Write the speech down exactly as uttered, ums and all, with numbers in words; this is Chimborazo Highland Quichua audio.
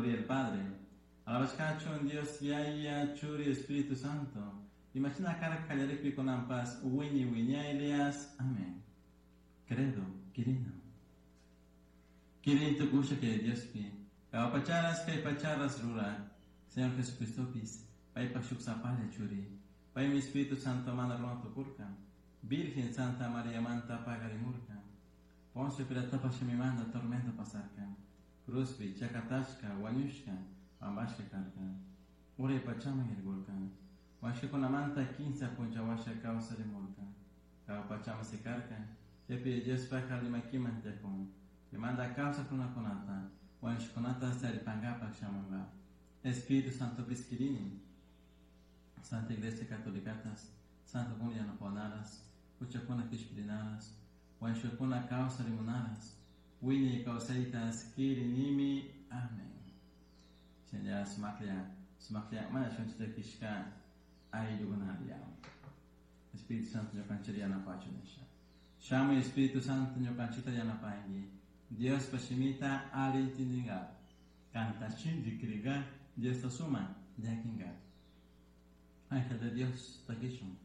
Gloria al Padre. Alabashkachun Dios Yaya Churi Espíritu Santo. Imashina karka kallaripi kunanpas wiñay wiñaylias. Amén. Credo, quirino. Quirin tukusha que Diospi. Jahua pacharas kay pacharas ruraj. Señor Jesucristopis. Paypaj shuk sapalla churi. Paymi Espíritu Santo mana runa tukurka. Virgen Santa María manta paqarimurka. Poncio Pilatopaj shimimanta tormento pasarka. Cruzpi chakatashka wañushka pambashka karka. Uray pachaman yaykurka. Wañushkakunamanta kinsa punlla huasha kawsarimurka. Jahua pachaman sikarka. Chaypi Diospaj alli makiman tiyakun. Chaymanta kawsaj runakunata wañushkakunata taripankapak shamunka. Espíritu Santopis kirini. Santa Iglesia Catolicatas, Santo Kun yanapanaras, huchakuna kishpirinaras, wañushkakuna kawsarimunaras, wiñay kawsaytas kirinimi. Amén. Shinalla sumaklla, sumaklla mana shunchita ayllukunalla. Espíritu Santo ñukanchita yanapachu nisha. Shamuy Espíritu Santo ñukanchita yanapanki. Diospa shimita alli intindinga. Kanta shinchi kriga Diosta suma llakinga. Ángel de Dios, takishun.